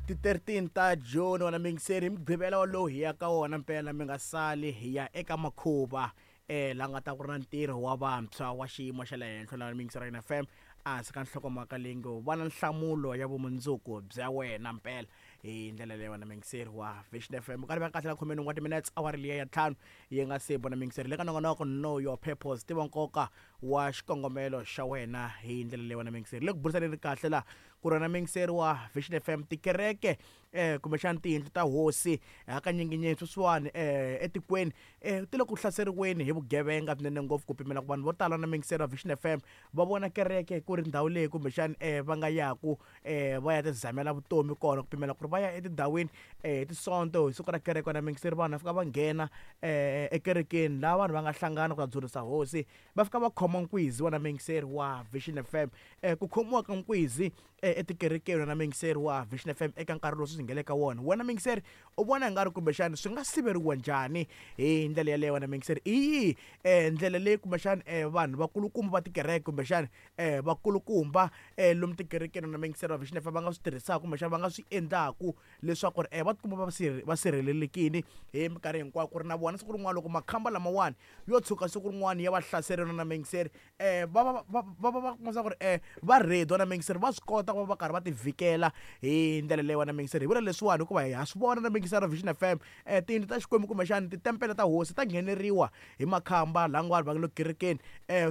Ti 13 ta June wena mingiseri hi mugqivela wolowo hi ya ka wona mpela mi nga sali hi ya eka makhuva la nga ta ku ri na ntirho wa vantshwa wa xiyimo xa le henhla la mingiseri ya FM ehansi ka nhlokomhaka leyi ngo va na nhlamulo ya vumundzuku bya wena mpela hi ndlela leyi wena mingiseri wa Vision FM karhi va kahle la khomeni wa timinutes awara liya ya ntlhanu yi nga se bona mingiseri le ka nongonoko know your purpose tiva nkoka wa xikongomelo xa wena hi ndlela leyi wena mingiseri le ku burisaneni kahle la ku ri na mingiseri wa Vision FM tikereke kumbexana tiyindlu ta hosi hakanyinginyingi sweswiwani etikweni ti le ku hlaseriweni hi vugevenga swinene ngopfu ku pimela ku vanhu vo tala na mingiseri wa Vision FM va vona kereke ku ri ndhawu leyi kumbexana va nga yaku va ya tizamela vutomi kona ku pimela ku ri va ya etindhawini hi tisonto hi siku ra kereke na mingiseri vanhu va fika va nghena ekerekeni laha vanhu va nga hlangana ku ta dzunisa hosi va fika va khoma nkwizi wa na mingiseri wa Vision FM ku khomiwa ka nkwizi etikerekeni na mingiseri wa Vision FM eka nkarhi lowu swi nga le ka wona wena mingiseri u vona nga ri kumbexana swi nga siveriwa njhani hi ndlela yaleyo wena mingiseri i yihi ndlela leyi kumbexana vanhu vakulukumba va tikereke kumbexana vakulukumba lomu tikerekeni na mingiseri wa Vision FM va nga swi tirhisaka kumbexana va nga swi endlaku leswaku ri va tikuma va sirhelelekile hi minkarhi hinkwayo ku ri na vona siku rin'wana loko makhamba lamawani yo tshuka siku rin'wana ya va hlaserela na mingiseri va va va va va va kuma swa ku ri va ready na mingiseri va swi kota ku va va karhi va ti vhikela hi ndlela leyi wena mingiseri hi vula leswiwani hikuva ha swi vona na mingiseri ra Vision FM tiyindlu ta Xikwembu kumbexani titempele ta hosi ta ngheneriwa hi makhamba laha vanhu va nga le kerekeni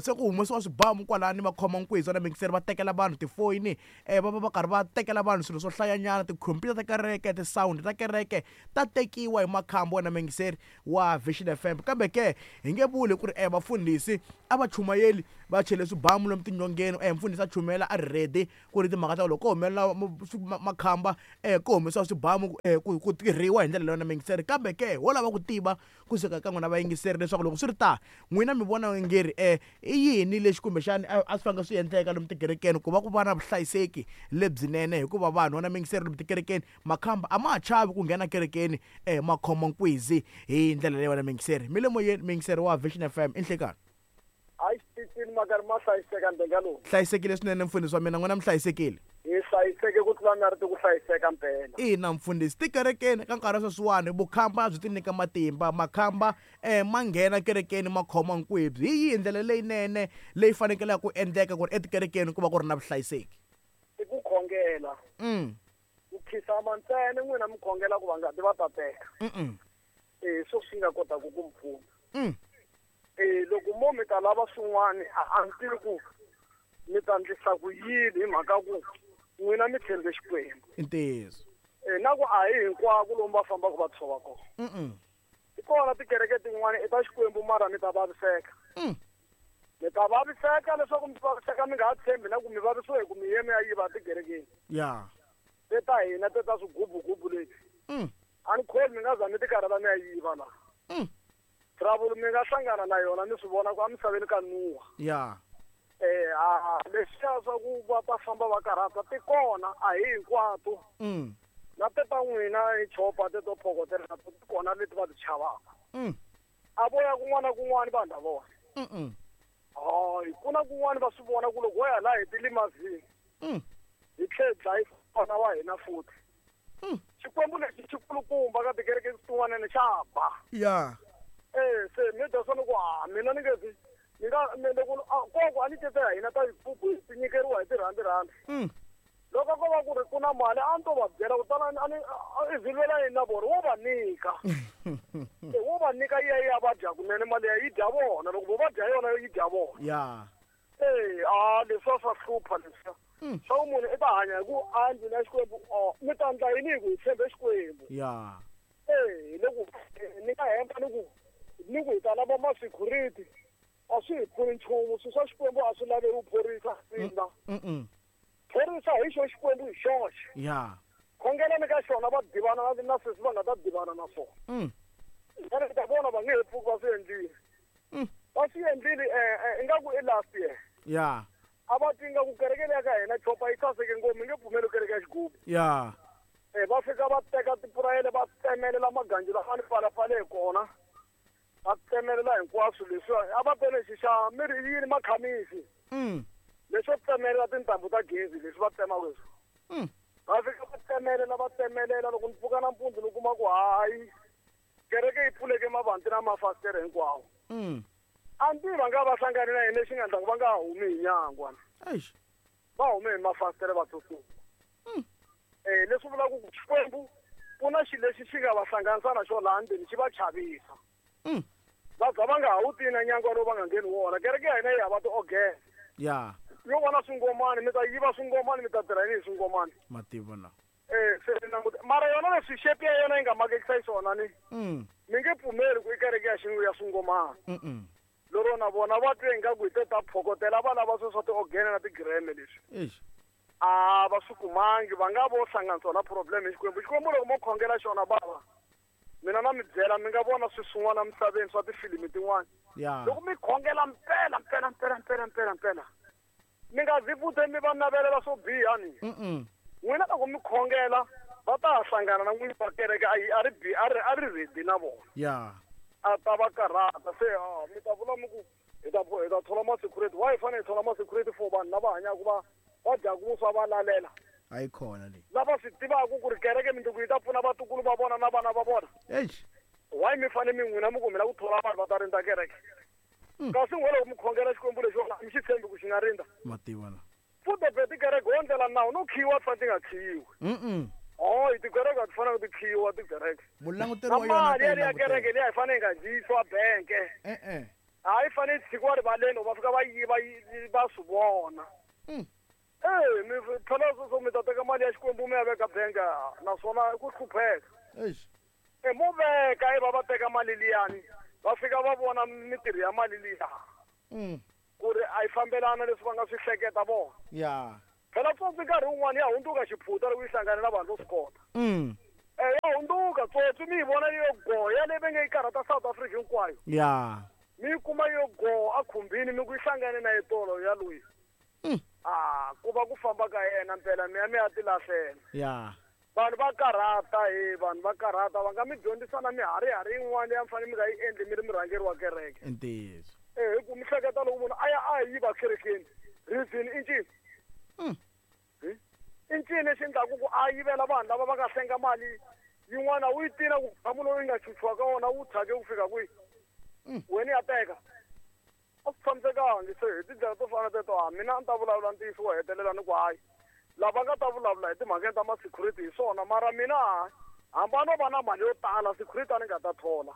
se ku humesiwa swibamu kwalani va khoma nkwizi na mingiseri va tekela vanhu tifoyini va va va karhi va tekela vanhu swilo swo hlayanyana tikhompyuta ta kereke ti-sound ta kereke ta tekiwa hi makhamba wena mingiseri wa Vision FM kambe ke hi nge vuli ku ri vafundhisi a va chumayeli va chele swibamu lomu tinyongeni mfundhisi a chumela a ri ready ku ri timhaka ta loko ko humelela makhamba ku humesiwa swibamu ku tirhiwa hi ndlela leyo na mingiseri kambe ke ho lava ku tiva kusuka ka n'wina vayingiseri leswaku loko swi ri ta n'wina mi vona nge ri i yini lexi kumbexani a swi fanele swi endleka lomu tikerekeni ku va ku va na vuhlayiseki lebyinene hikuva vanhu vana mingiseri lomu tikerekeni makhamba a ma ha chavi ku nghena kerekeni ma khoma nkwizi hi ndlela leyi wena mingiseri mi le moyeni mingiseri wa Vision FM i nhlekani hayi xitichini ma karhi ma hlayiseka ndenga lowu hlayisekile swinene mfundhisi wa mina n'wina mi hlayisekile hi hlayiseke ku tlula na ri ti ku hlayiseka mpela ina mfundhisi tikerekeni ka nkarhi wa sweswiwani vukhamba byi ti nyika matimba makhamba ma nghena kerekeni ma khoma nkwebyi hi yihi ndlela leyinene leyi fanekelaka ku endleka ku ri etikerekeni ku va ku ri na vuhlayiseki i ku khongela ku khisama ntsena n'wina mi khongela ku va nga ti va ta teka swo swi nga kotaka ku mi pfuna loko mo mi ta lava swin'wana a ni tivi ku mi ta ndlisa ku yini hi mhaka ku n'wina mi tshembe Xikwembu i ntiyiso na ku a hi hinkwako lomu va fambaka va tshova kona ti kona tikereke tin'wana i ta Xikwembu mara mi ta vaviseka mi ta vaviseka leswaku mi vaviseka mi nga ha tshembi na ku mi vavisiwe hi ku mi ye mi ya yiva tikerekeni ya te ta hina te ta swigubugubu leti a ni kholi mi nga za mi tikarhata mi ya yiva laha trouble mi nga hlangana na yona mi swi vona ku emisaveni ka nuwa ya leswiya swa ku va ta famba va karhata ti kona a hi hinkwato na te ta n'wina hi chopa te to phokotela ti kona leti va ti chavaka a vo ya kun'wana na kun'wana vanhu lavona hayi ku na kun'wana va swi vona ku loko wo ya laha hi tilimazini hi tlhe hi dlayisa vana wa hina futhi Xikwembu lexi xi kulukumba ka tikereke tin'wanani xa ba ya se mi dya swona ku a mina ni nge ni nga mi loko koko a ni tete ya hina ta yikubu ti nyikeriwa hi tirhandi rhandi loko ko va ku ri ku na mali a ni to va byela ku tala a ni i zilwela yini na vona wo va nyika wo va nyika yi ya yi ya va dya kunene mali ya yi dya vona loko vo va dya yona yi dya vona ya a leswiya swa hlupha leswiya swa ku munhu i ta hanya hi ku a ndlwini ya Xikwembu mi ta ndla yini hi ku hi tshembe Xikwembu ya hi le ku ni nga hemba ni ku hi ta lava ma-security a swi hi pfuni nchumu swilo swa Xikwembu a swi laveki phorisa ina phorisa hi xo Xikwembu hi xoxe ya khongelani ka xona va divana na sweswi va nga ta divana na swona ene ta vona va nge he pfuki va swi endlile va swi endlile ingaku i last year ya a va tinga ku kereke leya ka hina chopa yi saseke ngopfu mi nge pfumeli kereke ya xigubu ya va fika va teka tipurayele va tsemelela maganji lama ni palapale hi kona va tsemelela hinkwaswo leswiwa a va tele xi xa mi ri yini makhamisi leswo tsemelela tintambu ta gezi leswi va tsemaka leswi va fika va tsemelela tsemelela va tsemelela loko ni pfuka nampundzu ni kuma ku hayi kereke yi pfuleke mavanti na mafasitere hinkwawo. A ni tivi va nga va hlangane na yini lexi nga endla ku va nga ha humi hi nyangwa. Eish. Va hume hi mafasitere va tsutsuma. Leswi vulaka ku Xikwembu ku na xilo lexi xi nga va hlanganisa na xona laha ndzeni xi va chavisa. Va za va nga ha wu tivi na nyangwa lowu va nga ngheni wona. Kereke ya hina yi hava ti-organ. Ya. Yo vona swingomani, mi ta yiva swingomani, mi ta tirha yini hi swingomani? Mativa na. Se ni languta. Mara yona leswi shape ya yona yi nga makekisa xiswona ni. Mi nge pfumeli ku i kereke ya xingu ya swingomani. Lero na vona va twe ingaku hi te ta phokotela va lava sweswo swa ti-organ na ti-gram leswi. Eish. A va swi kumangi, va nga vo hlanganisiwa na problem hi Xikwembu. Xikwembu loko mo khongela xona bava, mina na mi byela mi nga vona swilo swin'wana emisaveni swa tifilimi tin'wana. Ya. Loko mi khongela mpela, mpela, mpela, mpela, mpela, mpela, mi nga zi futhi mi va navelela swo biha ni. N'wina loko mi khongela va ta hlangana na n'wini wa kereke a yi a ri bi a ri a ri ready na vona. Ya. A ta va karhata se mi ta vula mi ku hi ta hi ta thola ma security. Why hi fanele hi thola ma security for vanhu lava hanyaka va va dyaka vuswa va lalela? A yi kona leyi. Lava swi tivaka ku ri kereke mindzuku yi ta pfuna vatukulu va vona na vana va vona. Eish. Why mi fanele mi n'wina mi ku mi lava ku thola vanhu va ta rindza kereke? Kasi n'we loko mi khongela Xikwembu lexi a mi xi tshembi ku xi nga rindza. Mativa na. Futhi be tikereke ho ndlela nawu no khiyiwa ti fanele ti nga khiyiwi. Hayi, tikereke a ti fanele ti khiyiwa tikereke. Mulanguteri Na wa yona mali ta yi yaliya kereke langutela. liya yi fanele yi nga dyisiwa benke. E-e. Hayi, yi fanele yi tshikiwa rivaleni va fika va yiva va swi vona. Mi phela sweswo mi ta teka mali ya Xikwembu mi ya veka benke naswona i ku hlupheka. Eish. Mo veka i va va teka mali liyani va fika va vona mitirho ya mali liya. Ku ri a yi fambelana leswi va nga swi hleketa vona. Ya. Phela tsotsi nkarhi wun'wani ya hundzuka xiphuta loko yi hlangane na vanhu vo swi kota. Ya hundzuka tsotsi mi yi vona yo go ya leyi va nge yi karhata South Africa hinkwayo. Ya. Mi yi kuma yo go a khumbini mi ku yi hlangane na yitolo ya loyi. Ku va ku famba ka yena mpela mi ya mi ya tilahlela. Ya. Vanhu va karhata he, vanhu va karhata va nga mi dyondzisa na miharihari yin'wana leyi a mi fanele mi nga yi endli mi ri murhangeri wa kereke. Ntiyiso. Hi ku mi hleketa loko munhu a ya a yiva kerekeni, reason i ncini? I ncini lexi endlaku ku a yivela vanhu lava va nga hlenga mali yin'wana wu yi tina ku gamu lowu yi nga chuchiwa ka wona wu thyake ku fika kwihi? Wena ya teka. A swi tshamisekangi se hi tindlela to fana teto a mina a ni ta vulavula ntiyiso wo hetelela ni ku hayi. Lava nga ta vulavula hi timhakeni ta ma-security hi swona mara mina hamba no va na mali yo tala security a ni nga ta thola.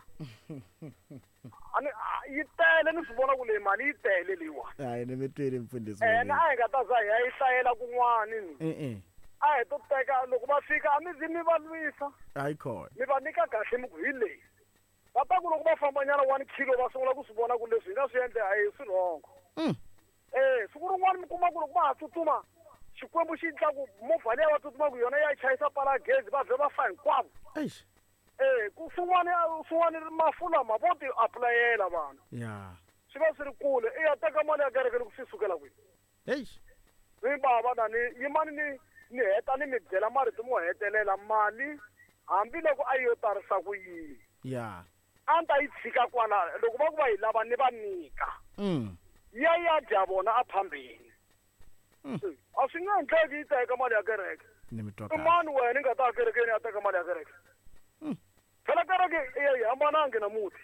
A ni yi tele ni swi vona ku leyi mali yi tele leyiwani. Hayi ni mi twile mfundhisi. Ene a hi nga ta za hi ya yi hlayela kun'wani ni. E-e. A hi to teka loko va fika a mi zi mi va lwisa. Hayi khona. Mi va nyika kahle mi ku hi leyi. Va ta ku loko va fambanyana 1 kilo va sungula ku swi vona ku leswi hi nga swi endla a hi swirhongo. Siku rin'wana mi kuma ku loko va ha tsutsuma Xikwembu xi endla ku movha liya va tsutsumaka yona ya chayisa pala gezi va vhe va fa hinkwavo. Eish. Ku swin'wana swin'wana mafu lama vo ti apulayela vanhu. Ya. Swi va swi ri kule i ya teka mali ya kereke loko swi sukela kwihi. Eish. Mi bava na ni yimani ni ni heta ni mi byela marito mo hetelela mali hambiloko a yi yo tarisa ku yini. Ya. A ni ta yi tshika kwala loko va ku va yi lava ni va nyika. Ya ya dya vona a phambeni. A swi nga endleki yi teka mali ya kereke. Ni mi twa I kahle. mani wena i nga ta kerekeni ya teka mali ya kereke? Phela kereke yi hambanangi na muti.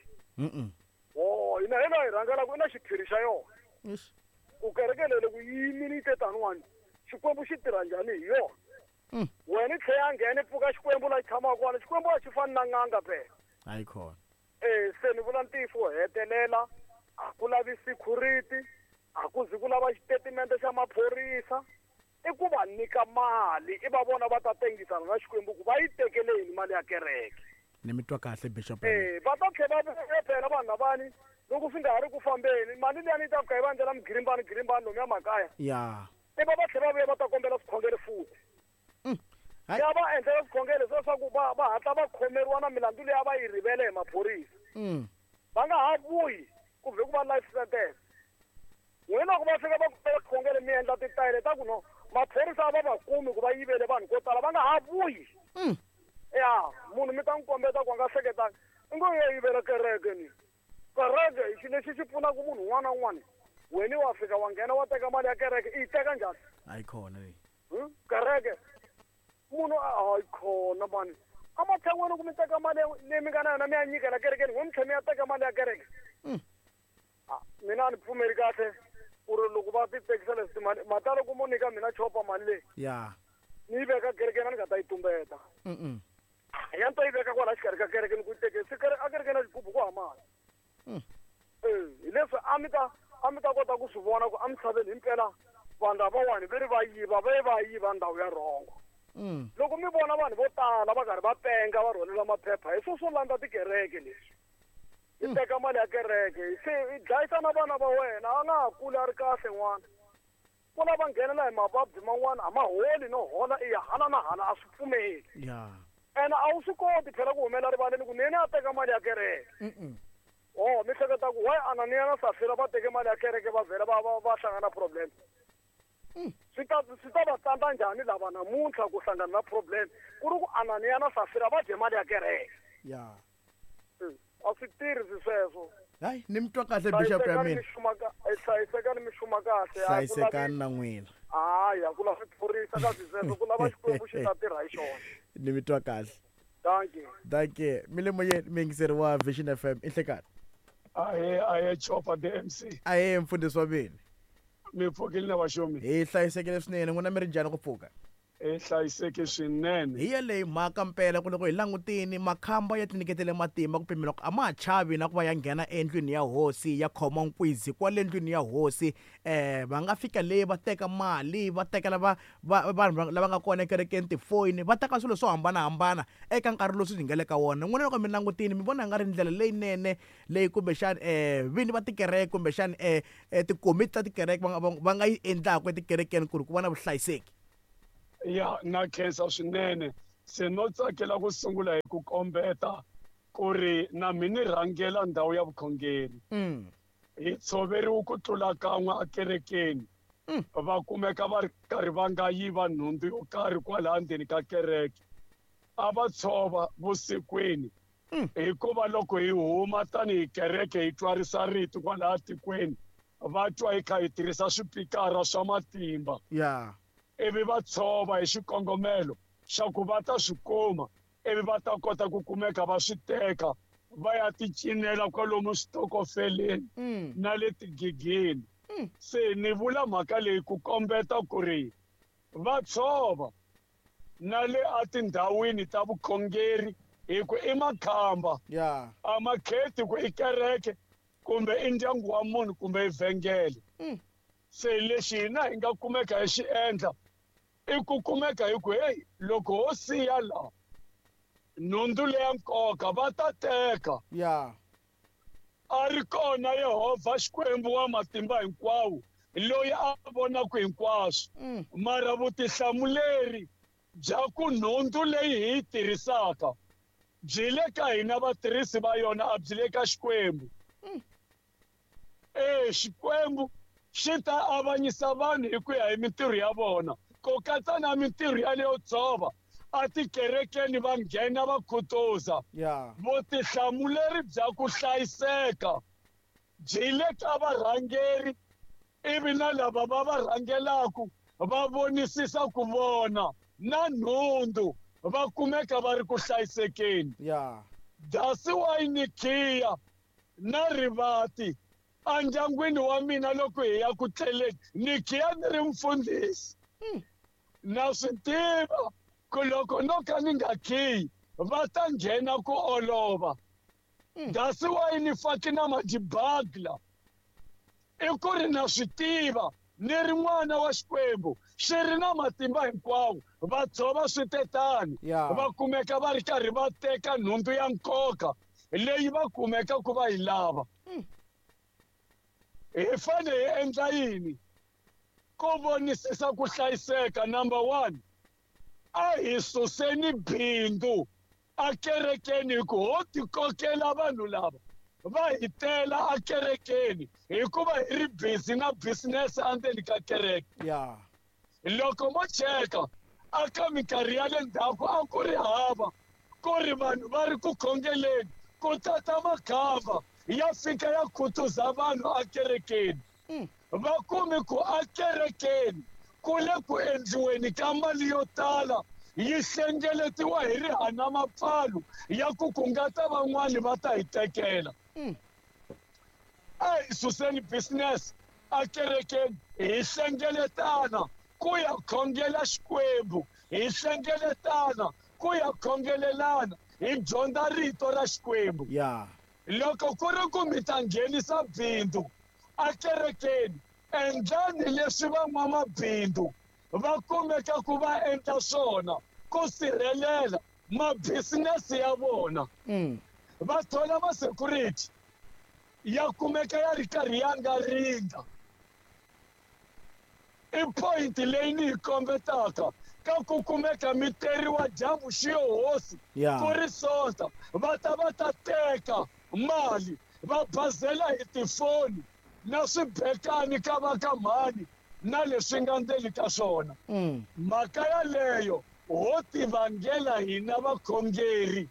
Oh, hina hi laha hi rhangelaka i na xiphiri xa yona. Eish. Ku kereke leyi loko yi yimile yi te taniwani, Xikwembu xi tirha njhani hi yona? Wena i tlhela a nghena i pfuka Xikwembu laha xi tshamaka kona, Xikwembu a xi fani na n'anga phela. Hayi khona. Se ni vula ntiyiso wo hetelela, a ku lavi security, a ku zi ku lava xitatimende xa maphorisa, i ku va nyika mali, i va vona va ta tengisana na Xikwembu ku va yi tekele yini mali ya kereke. Ni mi twa kahle Bishop. Va ta tlhela va vuya phela vanhu lavani loko swi nga ha ri ku fambeni, mali liyani yi ta fika yi va endlela migirimbani girimbani lomuya makaya. Ya. I va va tlhela va vuya va ta kombela swikhongelo futhi. Hayi. Ya va endlela swikhongelo leswaku va hatla va khomeriwa na milandzu leyi a va yi rivele hi maphorisa. Va nga ha vuyi ku vhe ku va life sentence. N'wina loko va fika va kombela swikhongelo mi endla titayele ta ku no maphorisa a va va kumi ku va yivele vanhu ko tala va nga ha vuyi. Ya, munhu mi ta n'wi kombeta ku a nga hleketangi. I ngo ya yivela kereke ni. Kereke i xilo lexi xi pfunaka munhu un'wana na un'wana. Wena wa fika wa nghena wa teka mali ya kereke, i yi teka njhani? Hayi khona leyi. Kereke. Munhu a Hayi khona mani. Amatshan'weni ku mi teka mali leyi mi nga na yona mi ya nyikela kerekeni, n'we mi tlhela mi ya teka mali ya kereke. Mina a ni pfumeli kahle ku ri loko va ti tekisa leswi timali, mata loko mo nyika mina chopa mali leyi. Ni yi veka kerekeni a ni nga ta yi tumbeta. Ya ni ta yi veka kwala xikarhi ka kereke ni ku yi teke se a kerekeni ya xigubu ku hava mali. Hi leswi a mi ta kota ku swi vona ku emisaveni himpela vanhu lavawani ve ri va yiva, va ye va yiva ndhawu ya rhongo. Loko mi vona vanhu vo tala va karhi va penga va rhwalela maphepha hi swo landza tikereke leswi. I teka mali ya kereke se i dlayisa na vana va wena, a nga ha kuli a ri kahle n'wana. Ku lava nghenela hi mavabyi man'wana a ma holi no hola i ya hala na hala a swi pfumeli. Ene a wu swi koti phela ku humela rivaleni ku nene a teka mali ya kereke. Oh, mi hleketa ku why Ananiya na Safira va teke mali ya kereke va vhela va hlangana problem. Swi ta va tsandza njhani lava namuntlha ku hlangana na problem ku ri ku Ananiya na Safira va dye mali ya kereke. A swi tirhi sweswo. Hayi, ni mi twa kahle bishop ya mina. Hlayisekani mi xuma kahle. Hlayisekani na n'wina. Hayi, a ku lava phorisa ka sweswo, ku lava Xikwembu xi ta tirha hi xona. Ni mi twa kahle. Thank you. Thank you. Mi le moyeni mi yingiseri wa Vision FM i nhlekani. Ahe Chopa the MC. Ahe mfundhisi wa mina. Mi pfukile na vaxomi. Hi hlayisekile swinene, n'wina mi ri njhani ku pfuka? Hi hlayiseke swinene. Hi yeleyo mhaka mpela ku loko hi langutini makhamba ya tinyiketele matimba ku pimela ku a ma ha chavi na ku va ya nghena endlwini ya hosi ya khoma nkwizi kwale ndlwini ya hosi. Va nga fika le va teka mali, va tekela vanhu lava nga kona ekerekeni tifoyini, va teka swilo swo hambanahambana eka nkarhi lowu swi nga le ka wona. N'wina loko mi langutini mi vona nga ri ndlela leyinene leyi kumbexani vini va tikereke kumbexani tikomiti ta tikereke va nga yi endlaka etikerekeni ku ri ku va na vuhlayiseki? Ya, na khensa swinene. Se no tsakela ku sungula hi ku kombeta ku ri na mi ni rhangela ndhawu ya vukhongeri. Hi tshoveriwe ku tlula kan'we ekerekeni. Va kumeka va ri karhi va nga yiva nhundzu yo karhi kwalaha ndzeni ka kereke. A va tshova vusikwini. Hikuva loko hi huma tanihi kereke hi twarisa rito kwalaha tikweni, va twa hi kha hi tirhisa swipikara swa matimba. Ivi va tshova hi xikongomelo xa ku va ta swi kuma, ivi va ta kota ku kumeka va swi teka va ya ti cinela kwalomu switokofeleni na le tigigini. Se ni vula mhaka leyi ku kombeta ku ri va tshova na le atindhawini ta vukhongeri hi ku i makhamba. A ma kheti ku i kereke kumbe i ndyangu wa munhu kumbe i vhengele. Se lexi hina hi nga kumeka hi xi endla i ku kumeka hi ku hey, loko ho siya la nhundzu leya nkoka va ta teka. A ri kona Yehovha Xikwembu wa matimba hinkwawo loyi a vonaka hinkwaswo. Mara vutihlamuleri bya ku nhundzu leyi hi yi tirhisaka byi le ka hina vatirhisi va yona, a byi le ka Xikwembu. Xikwembu xi ta avanyisa vanhu hi ku ya hi mintirho ya vona, ku katsa na mintirho yaleyo tshova a tikerekeni va nghena va khutuza. Vutihlamuleri bya ku hlayiseka byi le ka varhangeri, ivi na lava va va rhangelaku va vonisisa ku vona na nhundzu va kumeka va ri ku hlayisekeni. Dasi wa Inikiya na rivati endyangwini wa mina loko hi ya ku tleleni, ni khiya ni ri mfundhisi. Na swi tiva ku loko no ka ni nga khiyi va ta nghena ku olova. Dasi wa ni faki na madibagla i ku ri na swi tiva ni ri n'wana wa Xikwembu xi ri na matimba hinkwawo, va tshova switetani, va kumeka va ri karhi va teka nhundzu ya nkoka leyi va kumeka ku va yi lava. Hi fanele hi endla yini ku vonisisa ku hlayiseka? Number 1, a hi suseni bindzu akerekeni hi ku ho tikokela vanhu lava va hi tela akerekeni hikuva hi ri busy na business endzeni ka kereke. Loko mo cheka aka minkarhi ya le ndzhaku a ku ri hava ku ri vanhu va ri ku khongeleni, ku tata makhamba ya fika ya khutuza vanhu akerekeni. Va kumi ku akerekeni ku le ku endliweni ka mali yo tala yi hlengeletiwa hi rihana mapfalo ya ku ku nga ta van'wani va ta hi tekela. A hi suseni business akerekeni, hi hlengeletana ku ya khongela Xikwembu, hi hlengeletana ku ya khongelelana, hi dyondza rito ra Xikwembu. Loko ku ri ku mi ta nghenisa bindzu akerekeni, endlani leswi van'wamabindzu va kumeka ku va endla swona ku sirhelela mabisinesi ya vona. Va thola ma-security ya kumeka ya ri karhi ya nga ringa. I point leyi ni yi kombetaka ka ku kumeka mi teriwa dyambu xiyo hosi ku ri Sonta, va ta va ta teka mali va bazela hi tifoni na swibekani ka va ka mhani na leswi nga ndzeni ka swona. Mhaka yaleyo ho tivangela hina vakhongeri,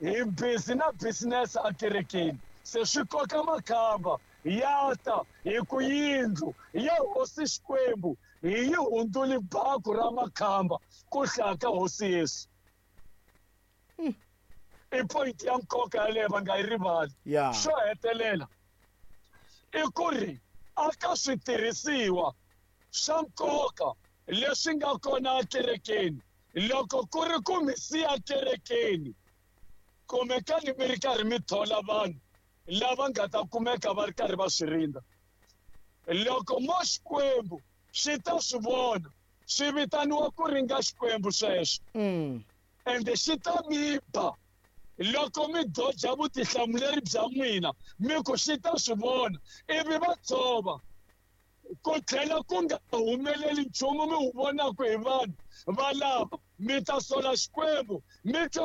hi busy na business akerekeni, se swi koka makhamba ya ta hi ku yindlu ya hosi Xikwembu hi yi hundzuli baku ra makhamba ku hlaya ka hosi Yesu. I point ya nkoka yaleyo va nga yi rivali. Xo hetelela i ku ri aka switirhisiwa swa nkoka leswi nga kona ekerekeni, loko ku ri ku mi siya kerekeni, kumekani mi ri karhi mi thola vanhu lava nga ta kumeka va ri karhi va swi rindza. Loko mo Xikwembu xi ta swi vona, swi vitaniwa ku ringa Xikwembu sweswo. Ende xi ta mi ba loko mi doja vutihlamuleri bya n'wina, mi ku xi ta swi vona, ivi va tshova ku tlhela ku nga humeleli nchumu mi wu vonaka hi vanhu valava, mi ta sola Xikwembu mi twa.